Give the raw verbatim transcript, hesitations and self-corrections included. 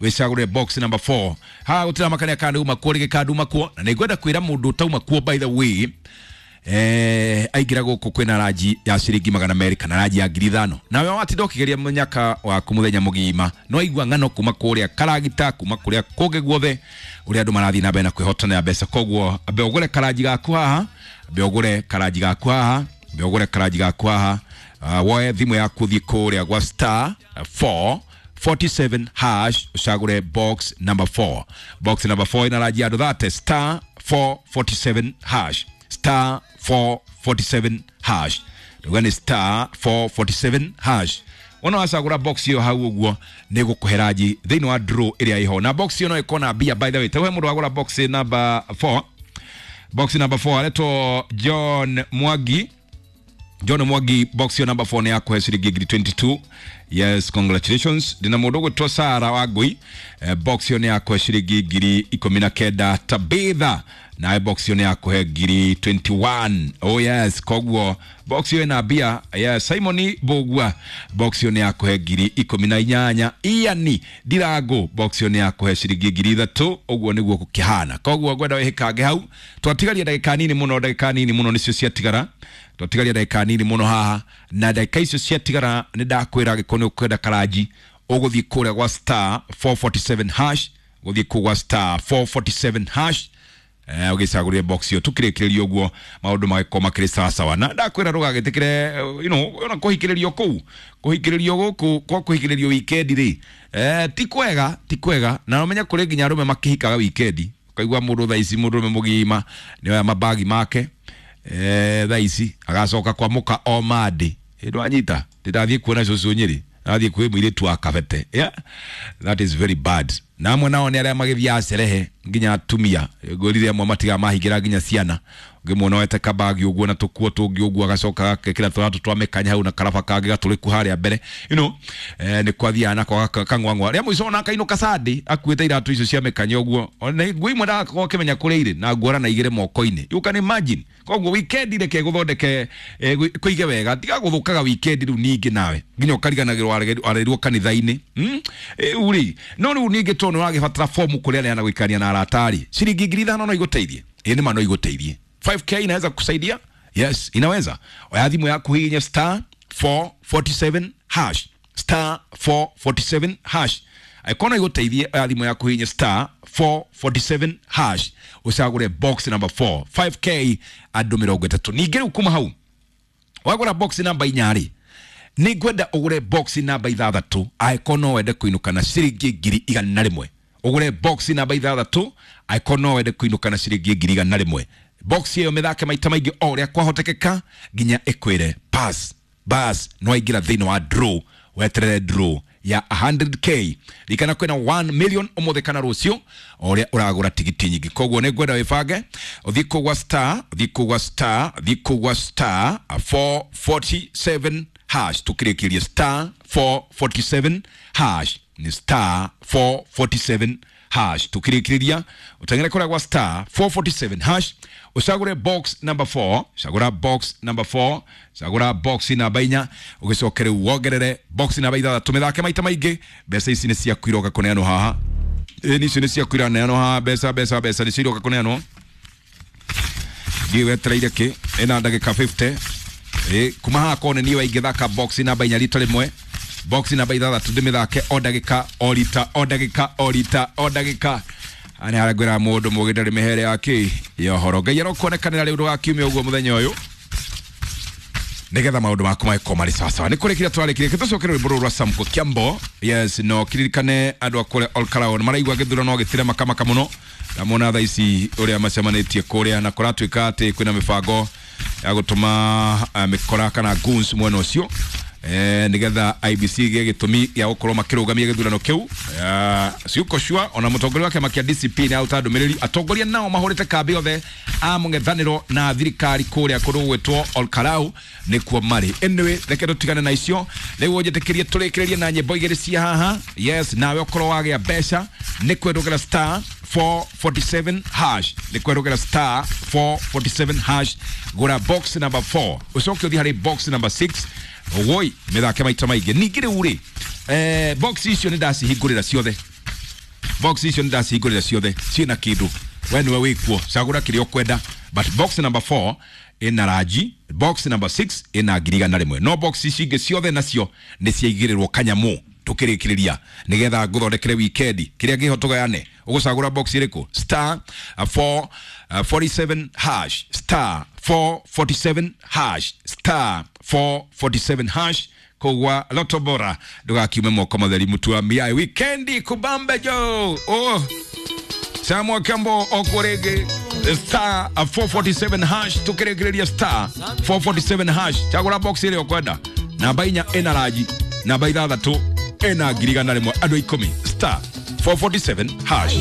Wĩcagũre box number four. Haha gũtirĩ makania kana uma kuo rĩngĩ kana nduma kuo, na nĩngwenda kwĩra mũndũ ũtauma kuo, by the way, eh, aingĩra gũkũ kwĩna ranji ya ciringi magana merĩ kana ranji ya ngiri ithano. Nawe watinda ũkĩgeria mũnyaka waku mũthenya mũgima, no aigua ng'ano kuma kũrĩa karagita, kuma kũrĩa kũngĩ guothe ũrĩa andũ marathiĩ na mbere na kwĩhotanĩra mbeca. Koguo ambe ũgũre karanji gaku haha, ambe ũgũre karanji gaku haha, ambe ũgũre karanji gaku haha. uh, woe thimũ yaku, thiĩ kũrĩa gwa star four forty-seven hash, ucagure box number four. Box number four ina ranji ya andũ thate. Star four forty-seven hash, star four forty-seven hash. Nduga nĩ star four forty-seven hash. Wona wacagũra box ĩyo hau ũguo, nĩ gũkũhe ranji thĩinĩ wa draw ĩrĩa ĩho, na box ĩyo no ĩkorwo na mbia. By the way, ta he mũndũ wagũra box number four, box number four aretwo John Mwangi. John Mwangi, box yo number four nĩ yakũhe ciringi ngiri mĩrongo ĩĩrĩ na igĩrĩ. Yes, congratulations. Ndina mũndũ ũgwĩtwo Sara wa Ngui, eh, box yo nĩ yakũhe ciringi ngiri ikũmi na kenda. Tabitha nawe, box yo nĩ yakũhe ngiri mĩrongo ĩĩrĩ na ĩmwe. Oh yes, koguo box yo ĩna mbia. Yes, Simon Bogua, box yo nĩ yakũhe ngiri ikũmi na inyanya. Iani Ndirango, box yo nĩ yakũhe ciringi ngiri ithatũ. Ũguo nĩguo gũkĩhana. Koguo ngwenda wĩhĩkange hau. Twatigaria ndagĩka nini mũno, ndagĩka nini mũno nĩcio ciatigara. Twatigaria ndagĩka nini mũno haha, na ndagĩka icio ciatigara nĩ ndakwĩra angĩkorwo nĩ ũkwenda karanji, ũgũthiĩ kũrĩa gwa star four forty-seven hash, gũthiĩ kũu gwa star four forty-seven hash, eh, ũgĩcagũrire box ĩyo. Tũkĩrĩkĩrĩria ũguo maũndũ magĩkorwo makĩrĩ sawasawa, na ndakwĩra ndũgagĩtĩkĩre eh, you know ona kũhikĩrĩrio kũu, kũhikĩrĩrio gũkũ kwa kũhikĩrĩrio weekend rĩ, eh, ti kwega, ti kwega. Na ũmenye kũrĩ nginya arũme makĩhikaga weekend. Ũkaigua mũndũ thaa ici, mũndũ ũrũme mũgima nĩ oya mabagi make, eh, thaa ici agacoka kwa mũka o Monday. Ndwanyita ndĩrathiĩ kuona cũcũ Nyĩrĩ, athiĩ kwĩ mũirĩtu wa kabete. Yeah? That is very bad. Na amwe nao nĩ arĩa magĩthiaga cerehe nginya atumia ngũrire amwe matigaga mahingĩra nginya ciana. Ũngĩmuona wete kabagi ũguo na tũkuo tũngĩ ũguo, agacoka agekĩra tũratũ twa mĩkanya hau na karaba kangĩ gatũrĩku harĩa mbere, you know, eh, nĩ kwathiaga nako kang'wang'wa rĩa mũico ona akainũka Sunday akuĩte iratũ icio cia mĩkanya ũguo. Ona nguo imwe ndagakorwo akĩmenya kũrĩa irĩ na nguora na igĩrĩ moko-inĩ. You can imagine. Koguo weekend reke gũthondeke, eh, kũige wega, tiga gũthũkaga weekend rĩu ningĩ nawe nginya ũkariganagĩrwo warerirwo kanitha-inĩ, hmm? Rĩu rĩ, no rĩu ningĩ tondũ nĩ ũragĩbatara fomu kũrĩa arĩa na gũikania na arata rĩ, ciringi ngiri ithano no igũteithie. Ĩ nĩ ma no igũteithie. five k inaweza kukusaidia. Yes, inaweza. Oya thimũ yaku, hihinya star four forty-seven hash, star four forty-seven hash. Angĩkorwo no igũteithie, oya thimũ yaku, hihinya star four forty-seven hash, ũcagũre box number four, five k andũ mĩrongo ĩtatũ. Ningĩ rĩu kuma hau wagũra box namba inya rĩ, nĩ ngwenda ũgũre box namba ithathatũ angĩkorwo no wende kũinũka na ciringi ngiri igana rĩmwe. Ũgũre box namba ithathatũ angĩkorwo no wende kũinũka na ciringi ngiri igana rĩmwe. Box ĩyo mĩthake maita maingĩ o ũrĩa kwahotekeka nginya ĩkwĩre pass. Bas, no waingĩra thĩinĩ wa draw, weterere draw ya one hundred k. Ririkana kwĩna one million ũmũthĩ kana rũciũ o ũrĩa ũragũra tigiti nyingĩ. Koguo nĩ ngwenda wĩbange, ũthiĩ kũu gwa star, ũthiĩ kũu gwa star, ũthiĩ kũu gwa star four forty-seven hash. Tukĩrĩkĩrie star four forty-seven hash, nĩ star four forty-seven hash. Tukĩrĩkĩrĩria ũteng'ere kũrĩa gwa star four forty-seven hash, ũcagũre box number four, cagũra box number four, cagũra box namba inya, ũgĩcoke rĩu wongerere box namba ithathatũ, mĩthake maita maingĩ. Mbeca ici nĩ ciaku iroka kũneanwo haha. Ĩ icio nĩ ciaku iraneanwo haha. Mbeca, mbeca, mbeca nĩcio iroka kũneanwo. Ndiĩ wetereire kĩ? Ĩna ndagĩka mĩrongo ĩnana. Ĩ kuma haha kone niĩ waingĩthaka box namba inya rita rĩmwe, box namba ithathatũ ndĩmĩthake o ndagĩka, o rita, o ndagĩka, o rita, o ndagĩka. Nĩ harĩa ngwĩra mũndũ mũgĩ ndarĩ mĩhere ya kĩ ya ũhoro. Ngai arokuonekanĩra rĩu ndũgakiumia ũguo mũthenya ũyũ, nigetha maũndũ maku magĩkorwo marĩ sawasawa. Nĩ kũrĩkĩria twarĩkĩria, tũcokere rwĩmbo rũrũ rwa Samko Kiambo. Yes, no kiririkane andũ a kũrĩa Olkalau nĩ maraigua gĩthurano gĩtire makamaka mũno. Ndamona thaa ici ũrĩa macemanĩtie kũrĩa, na kũratuĩka atĩ kwĩna mĩbango ya gũtũma uh, mĩkora kana goons mwena ũcio, eh, nigetha I E B C gĩe gĩtũmi gĩa gũkorwo makĩrũgamia gĩthurano kĩu. Eh, ciuko cua ona mũtongoria wa kĩama kĩa D C P nĩ aruta ndũmĩrĩri. Atongoria nao mahũrĩte kambĩ othe a mũng'ethanĩro na thirikari kũrĩa kũndũ gũgwĩtwo Olkalau nĩkuo marĩ. Anyway, reke tũtigane na icio rĩu, ũnjĩtĩkĩrie tũrĩkĩrĩrie na nyĩmbo igĩrĩ cia haha. Yes, nawe ũkorwo wagĩa mbeca nĩ kwendũkĩra star four forty-seven hash, nĩ kwendũkĩra star four forty-seven hash. Gũra box number four, ũcoke ũthiĩ harĩ box number six, woi mĩthake maita maingĩ. Ningĩ rĩu rĩ, eh, box icio nĩ ndacihingũrĩra ciothe. Box icio nĩndacihingũrĩra ciothe ciĩna kĩndũ, we nĩwe wĩkuo, cagũra kĩrĩa ũkwenda, but box number four ĩna ranji, box number six ĩna ngiri igana rĩmwe, no box ici ingĩ ciothe nacio nĩ ciaigĩrĩrwo kanyamũ. Tukĩrĩkĩrĩria nĩgetha ngũthondekere wikendi kĩrĩa kĩho tũgayane. Ũgũcagũra box ĩrĩkũ? Star four forty-seven hash, star four forty-seven hash, star four forty-seven hash kogwa Loto Bora. Ndũgakiume moko matheri mutua miai wikendi kubambe jo. Oh, Samuel Kembo okorege star four forty-seven hash. Tukĩrĩkĩrĩria star four forty-seven hash, chagũra box ĩrĩa ũkwenda. Namba inya ĩna ranji, namba ithathatũ ĩna ngiri igana rĩmwe, andũ ikũmi, star four forty-seven hash.